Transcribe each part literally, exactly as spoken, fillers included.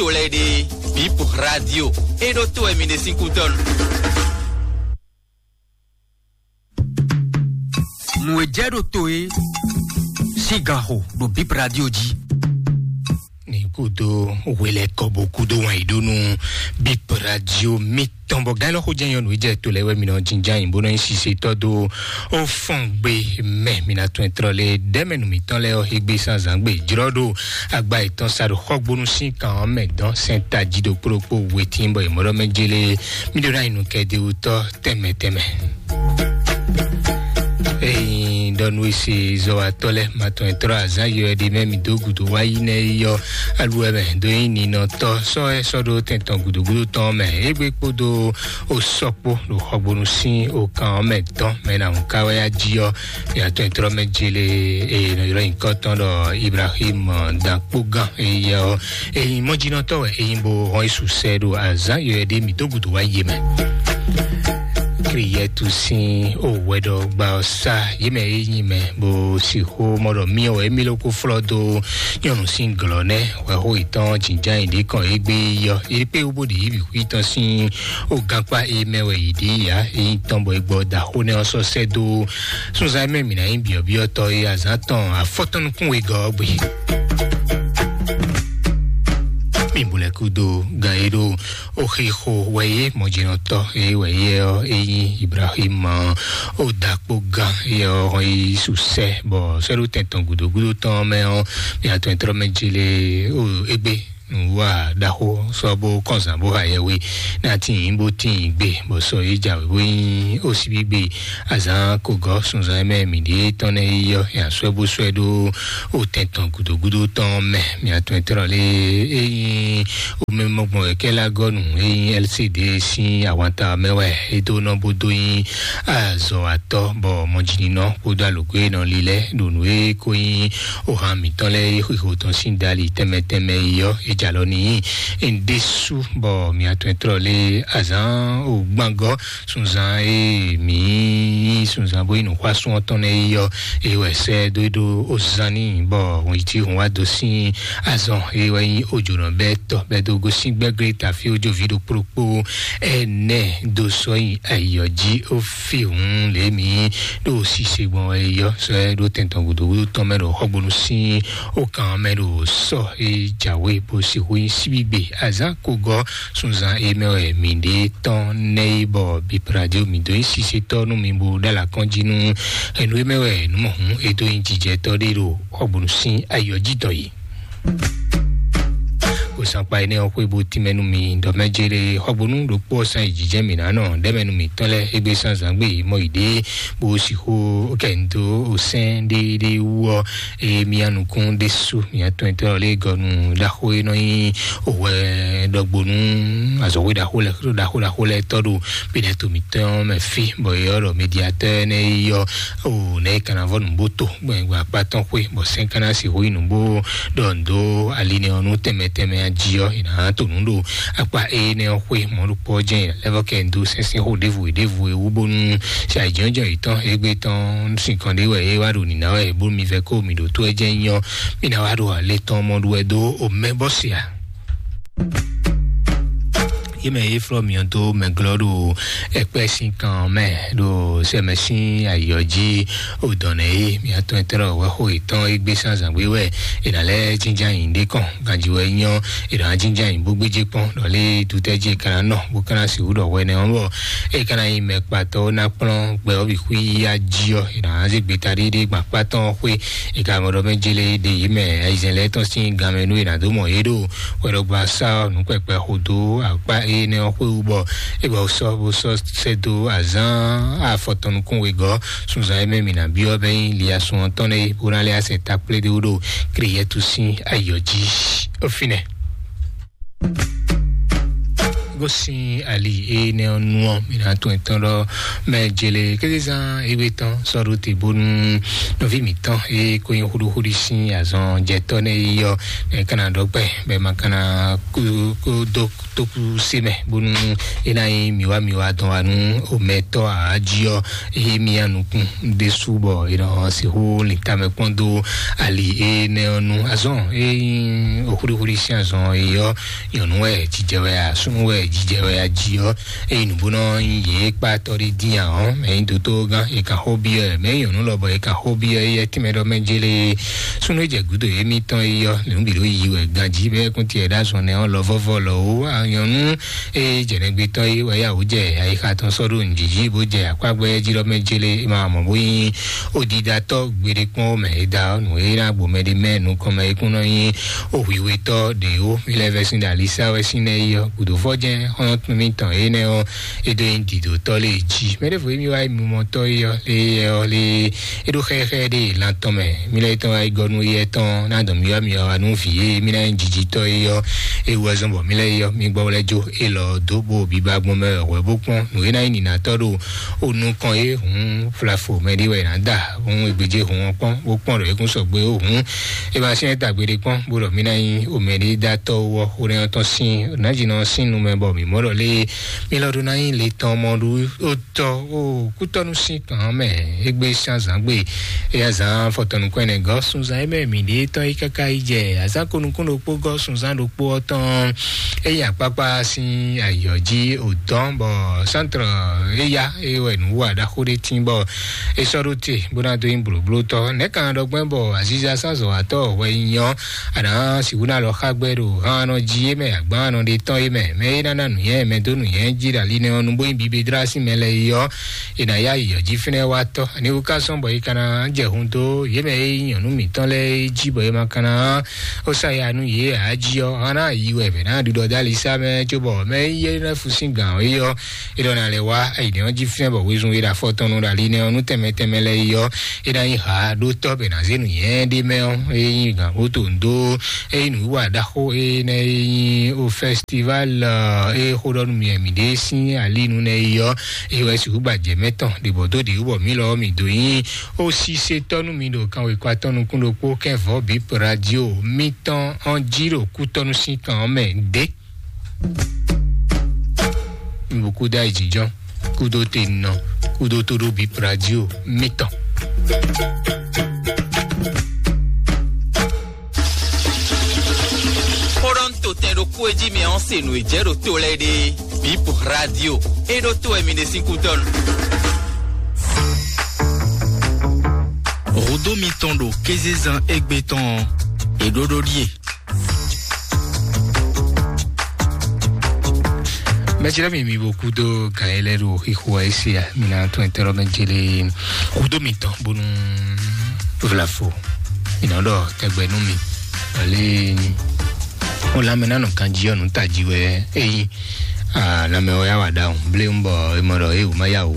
to lɛ́ɛ ɖe, Bip Radio, é ɖó to wɛ mi ɖe sín kútɔ́ nu. Nǔ e jɛ ɖo to é sín ganxo ɖo Bip Radio jí. Ní kúdó hwelɛ́kɔ bó kúdó wǎn yí ɖó nú Bip Radio mi tɔn bɔ gán lɔ xó jẹ́ nyɔnu jẹ́ to lɛ wɛ mi nɔ jinján yìí bó nɔ nyi sise tɔ́ dó ó fɔn gbe mɛ mi na tún ɛ trɔ lé dɛmɛ nu mitɔn lɛ ɔ hegbe sanzan gbe jrɔ ɖo agba etɔn sa ɖo xɔgbónu sín kan ɔ́ mɛ dɔn sɛn tají ɖo kplókpó wetín bɔ ìmɔɖɔ mɛ jélé mi ɖó ná yi nu kɛdé wutɔ tɛmɛ tɛmɛ. Eyin ɖɔ nú esi zɔwatɔ lɛ ma tɔn e trɔ azan yɔ ɛɖi mɛ mi dó gudo wá yi nɛ yɔ aluwɛ mɛ do yi ninɔtɔ sɔ ɛ sɔ ɖo tɛntɔn gudogudo tɔn mɛ egbe kpódó o sɔkpó ɖo xɔgbónu sín o kan ɔ́ mɛ tɔn mɛ na hun ká wɛ ya jí ɔ mi atɔn e trɔ mɛ jele eye nɔ ylɔ nyikɔ tɔn ɖɔ Ibrahim dan kpó gán eye ɔ eyin mɔjínɔtɔ wɛ eyin bo hɔn isu sɛ ɖo azan yɔ ɛɖi mi dó gudo wá yi mɛ. Kriyɛtu sín òwɛɖɔgba ɔ́ sá yě mɛ e nyí mɛ bó sixú mɔ ɖɔ myɔ wɛ émí ló kó flɔ́ dó nyɔnu sín glɔ́ nɛ́ wɛ xó yětɔn jǐnján yě ɖi kɔn égbé yɔ yě kpé wú bó ɖi yǐ bǐ xwí tɔn sín ogánkpá é mɛ wɛ yě ɖi yǎ é nyí tɔn bɔ é gbɔ da xó nɛ́ ɔ́ sɔ́ sɛ́ dó súnzán mɛ mǐ ná nyí byɔ̌byɔ́tɔ́ é azǎn tɔn afɔtɔ́nukún wegɔ́ ɔ́ gbe. Mì bu lɛ́ kú dó gan é ɖó Oxixo wɛ yé mɔjɛnɔtɔ yé wɛ yé ɔ é nyí Ibrahim ɔ ó da kpó gán yé ɔ hɔn yi su sɛ bɔ sɛɖó tɛntɔn gudogudo tɔn mɛ ɔ mi atɔn trɔ mɛ jele ó égbé nùwà ɖaxó sɔ bó kɔnzan bó ha yɛ wé na tín bó tín gbé bɔ sɔ yé jà wé bó nyí ó síbí gbé azán kogɔ sunzan mɛ mǐ ɖíe tɔn nɛ yí ɔ yà sɔɛ bó sɔɛ ɖó ó tɛntɔn gudogudo tɔn mɛ mi atɔn trɔ lé é nyí Omemɔgbɔn wɛ kɛ́ lá gɔ́ nǔ e nyí L C D sín awanta mɛ wɛ é dó nɔ bó dó nyí azɔ̌watɔ́ bɔ mɔjínínɔ kpódó alǒgó e nɔ lílɛ́ ɖo nǔ e ko nyí ohan mǐtɔn lɛ́ɛ e xixo tɔn sín dali tɛnmɛ tɛnmɛ yi ɔ́ é jalɔ n'i. Ŋ ɖésú bɔ mǐ atɔn e tlɔ lé azǎn o gbangɔ́ sunzan e mǐ nyí sunzan bó nyí nǔxwásún ɔ́ tɔn nɛ́ yi ɔ́ é wɛ sɛ́ dó ɖó ozán n'i bɔ hǔn yi cí hǔn wá dó sín azɔn e wɛ nyí ojǒnɔ bɛ́ tɔ bɛ́ dó gosín gbɛ́glé tafí ojóví ɖokpó ɖokpó ɛnɛ dó sɔ́ nyi ayǐ ɔ́ jí ó fí hǔn lě mǐ ɖo sise gbɔn wɛ yɔ sɔ́ ɛ ɖó tɛntɔn gǔdo gúdo tɔn mɛ ɖo xɔgbónu sín ó kan mɛ ɖo sɔ́ e jǎwe bó sixú nyí síbígbe azǎn kogɔ́ sunzan e mɛ wɛ mǐ ɖe tɔn nɛ yi bɔ bipradio mǐ dó nyí sisetɔ nú mi bó ɖó alakɔn jí nú enu e mɛ wɛ nǔ mɔhún e dó nyí jijɛtɔ ɖé ɖo xɔgbónu sín ayɔ jí tɔn yi. Osankpa énɛ́ ɔ́ xwé bó tínmɛ nú mi ɖɔ mɛ jere xɔgbónu ɖokpó ɔ́ sán yi jijɛ mǐ ná nɔ ɖɛmɛ nú mǐtɔn lɛ́ɛ égbé sán zǎngbé mɔ yi ɖě bó sixú kɛ n dó osɛn ɖéɖé wú ɔ́ eye mía nukún ɖésú mía tɔn tɔn lé gɔnu ɖaxó e nɔ nyí òhwɛ ɖɔgbonu azɔ̌xwé ɖaxó lɛ ɖaxó ɖaxó lɛ tɔ́ ɖo Pilato mǐtɔn mɛ fí bɔ yɛ ɔ́ ɖɔ mediatɔ́ énɛ́ yi ɔ́ o nɛ̌ yi kana vɔ nǔbóto gbɛ̀ngbɛ̀n akpá tɔn xwé bɔ sɛ́n kana sixú yi nǔbó ɖɔ ndo ali nɛ ɔ́ nú tɛnmɛ tɛnmɛ jí ɔ́ yi nǎ to nǔ ɖo akpá énɛ́ ɔ́ xwé mɔ̌ ɖokpó ɔ́ jɛ́n lɛ́vɔ́ kɛ ndo sɛ́nsɛ́n xó ɖěvo ɖěvo e wú bónú ṣe àjínjɔ́n yětɔn égbé tɔn sínkɔn ɖé wɛ é wá ɖo nǐná wɛ bó mi vɛ kó mi ɖo tó ɛ jɛ́n nyɔ́ mi ná wá ɖo alé tɔn mɔ ɖu wɛ dó omɛ bɔ́ se a. Yé mɛ yé flɔ́ myɔ dó mɛglɔ́ ɖo ɛkpɛ́ sín kan mɛ ɖo sɛmɛ sín ayɔ jí o dɔn nɛ yé mi atɔn tɛrɛ wɛ xó yětɔn égbé sán zǎngbé wɛ è nǎ lɛ́ jínján yǐ ɖé kɔn ganjí wɛ nyɔ́ è nǎ jínján yǐ bó gbéjé kpɔ́n ɖɔ lé dutɛ́ jí è ka ná nɔ bó ka ná sixú ɖɔ hwɛ nɛ ɔ́ bɔ è ka ná nyí mɛ kpatɔ́ ná kplɔ́n gbɛ ɔ́ bǐ xwí yá jí ɔ́ è nǎ zé gbeta ɖéɖé gbɔn akpá tɔn ɔ́ xwé è ka mɔ ɖɔ mɛ jélé ɖe yě mɛ ayizɛ́n lɛ́ɛ tɔn sín ganmɛ nú è nǎ dó mɔ yě ɖo hwɛɖɔgbɔ asá ɔ́ nǔ kpɛkpɛ xo dó akpá énɛ́ ɔ́ xwé wú bɔ é bɔ sɔ́ bó sɔ́ sɛ́ dó azǎn afɔtɔn nukún wegɔ́ sunzan e mɛ mǐ ná byɔ́ bɛ́ nyí liasun ɔ́ tɔn nɛ́ bó ná lɛ́ asɛ takplé ɖé wú ɖo Kliyɛ́tu sín ayɔ jí ó fínɛ́. Gosín ali énɛ́ ɔ́ nu ɔ́, mi ná tunwun etɔn ɖɔ mɛ jele kézezán égbé tɔn sɔ́ ɖó te bónú nɔví mǐtɔn e ko nyí xúɖúxúɖú sín azɔn jɛtɔ́ nɛ́ yi ɔ́, ɛ ka ná ɖɔ gbɛ bɔ ɛ ma ka ná kú kó dó tókú sé mɛ bónú é ná nyí mǐwá mǐwá dɔn wá nú omɛtɔ́ ǎ jí ɔ́, é mì nukún ɖésú bɔ è nɔ sixú lin tamɛ kpɔ́n dó ali énɛ́ ɔ́ nu. Azɔn e nyí oxúɖíxúɖí sín azɔn e ɔ́, nyɔ̌nu wɛ jijɛ wɛ a, súnnu wɛ jijɛ wɛ a jí ɔ́, eye nǔgbónɔ nyí yě kpátɔ́ ɖé dín ǎ ɔ́, mɛ nyí dótógán, è kan xó byɔ́ ɛ, mɛ nyí nyɔ̌nu lɔbɔ è kan xó byɔ́ ɛ, éyɛ́ tínmɛ ɖɔ mɛ jélé súnnu e jɛ gǔdo yě mitɔn é ɔ́, nǔ bǐ ɖo yi wɛ ganjí bɛ́ kún tiɛ ɖó azɔn nɛ ɔ́, lɔ vɔ́vɔ́ lɔ wó, a nyɔ̌nu e jɛ nɛgbé tɔn é wɛ yá wǒ jɛ ayixa tɔn sɔ́ ɖó nǔjíjí bó jɛ akpágbɛ́ jí ɖɔ mɛ jélé é ma mɔ bó nyí odídatɔ́ gbeɖé kpɔ́n mɛ é da ɔ́, nǔ e ná gbo mɛ ɖé mɛ nukɔn mɛ é kún nɔ nyí ohwǐwétɔ́ ɖě ó. Mí lɛ́ vɛ́ sín ɖo alisá wɛ sín nɛ́ é ɔ́, gǔdo vɔ́ jɛ́n xɔ́ntɔn mitɔn énɛ́ ɔ́, é dó nyí dǐdótɔ́ lé jí. Mɛ ɖěvo émí wá nyí mimɔtɔ́ é ɔ́, lé yɛ ɔ́ lé é ɖó xɛxɛ ɖé lan tɔn mɛ. Mí lɛ́ tɔn wá yi gɔ́ nú éyɛ́ tɔn ná dɔn mí wá mì wá nú vǐ e mí ná nyí jijitɔ́ é ɔ́. É wú wɛ zɔ́n bɔ mí lɛ́ é ɔ́, mí gbɔ wlɛ́ jó é lɔ dó bó biba gbɔn mɛ wɛ hwɛ bó kpɔ́n nǔ e ná nyí nǐnátɔ́ ɖo o nukɔn é hǔn flafo mɛ ɖé wɛ è nǎ da hǔn egbéjé hǔn ɔ́ kpɔ́n bó kpɔ́n ɖɔ é kún sɔgbe ó hǔn. É ma syɛ́n tagbe ɖé kpɔ́n bó ɖɔ mí ná nyí omɛ ɖé dó atɔ́ wú ɔ́ xó nɛ́ ɔ́ tɔn sín nǎjínɔ sín nu mɛ bɔ mǐ mɔ ɖɔ lé mí lɔ ɖó ná nyí le tɔn mɔ ɖó ó tɔ ó kútɔ́nú sín kàn mɛ égbé sín azǎngbe. Éyá zǎn fɔtɔnukún ɛnɛ gɔ́ sunzan é mɛ mǐ ɖe tɔn yi káká yi jɛ azǎn ko nukún ɖokpó gɔ́ sunzan ɖokpó ɔ́ tɔn. Éyí akpákpá sín ayǐ ɔ́ jí ò dɔn bɔ sántrɔ éyá é wɛ nǔ wa ɖaxó ɖé tín bɔ é sɔ́ ɖó te bó ná dó nyí blǒblótɔ́. Nɛ̌ ka ɖɔ gbɛ́ bɔ aziza sán zɔ̌watɔ́ hwɛ nyɔ a nǎ sixú ná lɔ xá gbɛ ɖo hánanɔ jí é mɛ, agbánanɔ ɖé tɔn é mɛ, mɛ é ná ná nǔnywɛ́ mɛ dó nǔnywɛ́ jí ɖo ali nɛ́ ɔ́ nu bó nyí bibidrá sín mɛ lɛ́ɛ yi ɔ́, è nǎ yá yi ɔ́ jí fínɛ́ wá tɔ́. Aniwúkásɔ́n bɔ é ka ná jɛ hun dó yě mɛ e nyí nyɔ̌nu mǐtɔn lɛ́ɛ é jí bɔ é ma ka ná ó sa ya nú yě ǎ jí ɔ́, hɔn ná yi wɛ mɛ ná ɖiɖɔ dó alisá mɛ cóbɔ mɛ e yí é ná fú sín gǎn é ɔ́, é ɖɔ ná lɛ́ wá ayǐnɛ́ ɔ́ jí fínɛ́ bɔ wezun e ɖo afɔ tɔn nu ɖo ali nɛ́ ɔ́ nú tɛnmɛ tɛnmɛ lɛ́ɛ yi ɔ́, é ná nyí ha ɖó tɔ́ bɛ ná zé nǔnywɛ́ ɖé mɛ ɔ́, é nyí gǎn bó to nǔ dó é nyí nǔwiwa ɖaxó énɛ́ e nyí o fɛstivál e xó ɖɔ nú mi mǐ ɖe sín ali nú nɛ yi ɔ́, é wɛ sixú gbajɛ mɛ tɔn ɖě bɔ dó ɖě wú bɔ mǐ lɔ mǐ dó nyí ó sí se tɔ́ nú mi ɖo kanwekwa tɔn nukún ɖokpó kɛ́ vɔ̌ bǐ radio mitɔn ɔ́ jí ɖo kútɔ́nú sín kan ɔ́ mɛ ɖě. Mǐ kú dó ayǐjínjɔ́n, kú dó te nɔ, kú dó tó ɖó bǐ radio mitɔn. Xó ɖɔ un to tɛn ɖokpó e jí mi ɔ́ se nǔ e jɛ ɖo to lɛ́ɛ ɖe. Bip radio. E ɖo to wɛ mi ɖe sín kútɔ́ nu. Hǔdó mitɔn ɖo kézezán égbé tɔn ɔ́, è ɖó ɖó ɖíe. Mɛjlɛ mi mi bo kúdó gayɛlɛ ɖo xixo wa esi a, mi na tún ɛtɛrɔ mɛ jele kúdó mi tɔn bónú vlafo. Mi nɔ ɖɔ tɛgbɛ nú mi. Ale o lamɛ nanɔ kanji ɔnu taji wɛ eyi. Ah, lamɛ wɛ ya wa da o. Ble un bɔ e mɔ ɖɔ e o ma ya o.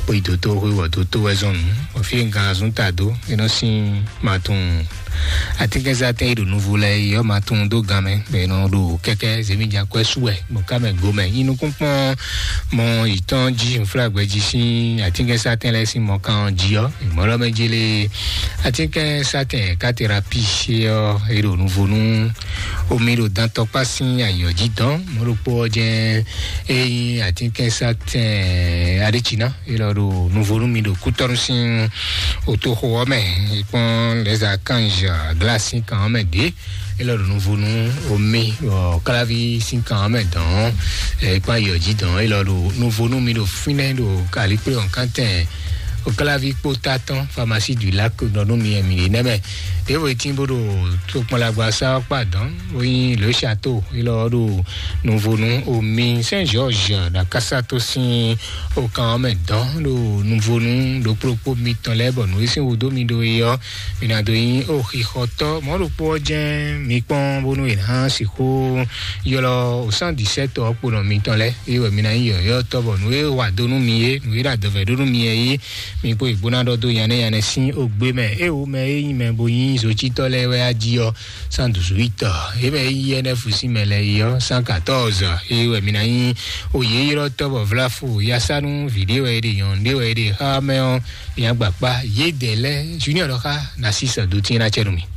Bo yi doto xwe wɔ doto wɛ zɔn nu. O fi gan zun ta do. E nɔ sin ma tún atínkɛnsatɛn e ɖo nuvo lɛ yi ɔ́ ma tunwun dó gan mɛ, bɔ è nɔ ɖo kɛkɛ zěmija kwɛ́ su wɛ, bɔ ká mɛ go mɛ nyi nukúnkpɔ́n mɔ yǐtɔn jí nflágbɛjí sín atínkɛnsatɛn lɛ́ɛ sín mɔkan ɔ́ jí ɔ́, mɔ̌lɔ́ mɛ jélé atínkɛnsatɛn katerapi ɔ́ e ɖo nuvo nú omi ɖo dantɔkpá sín ayǐ ɔ́ jí dɔn. Mɔ̌ ɖokpó ɔ́ jɛ́n é nyí atínkɛnsatɛn aɖéciná. Élɔ́ ɖo nuvo nú mi ɖo kútɔ́nú sín otoxo ɔ́ mɛ. È kpɔ́n lɛ̌za kánzha glasi kan ɔ́ mɛ ɖě. Élɔ́ ɖo nuvo nú omi ɔ kláví sín kan ɔ́ mɛ dɔn. È kpɔ́n ayɔ jí dɔn. Élɔ́ ɖo nuvo nú mi ɖo fínɛ́ ɖo kalikplé ɔn kántɛn o kláví kpó tátɔn famasi du lak nɔ nú mi ɛmì ɖě nɛ́ mɛ. Ɖěvo e tín bó ɖo tokpɔnlagba sá ɔ́ kpá dɔn. Oyin le château. Élɔ́ ɖo nuvo nú omi Saint George ɖo akásá tó sín okan ɔ́ mɛ dɔn ɖo nuvonu ɖokplokpó mitɔn lɛ́ɛ bɔ nǔ e sín wúdó mi ɖó é ɔ́, mi ná dó nyí oxixɔtɔ́. Mɔ̌ ɖokpó ɔ́ jɛ́n mi kpɔ́n bónú è nǎ sixú ylɔ́ o cent dix-sept ɔ́ kponɔ mitɔn lɛ́ɛ, é wɛ mi ná nyí yɔ̌yɔ́tɔ́ bɔ nǔ e wa dó nú mi é, nǔ e ɖo adɔ̌vɛ́ ɖó nú mi é, Mi kpó ìgbóná ɖɔ dó yanɛ yanɛ sín ògbé mɛ. Éwo mɛ é nyí mɛ bo nyí zocítɔ́ lɛ́ɛ wɛ á jí ɔ́, cent dix-huit. É mɛ é nyí N F sín mɛ lɛ́ɛ yi ɔ́, cent quatorze. É wɛ mi ná nyí òye ylɔ́tɔ́ bɔ vláfo yasánú vǐɖé wɛ é ɖe nyɔ̌nu ɖé wɛ é ɖe xá mɛ ɔ́, mi ná gbakpá yédɛɛ lɛ́ɛ. Junior ɖɔ xá Narcisse dó tín ná cɛ nú mi.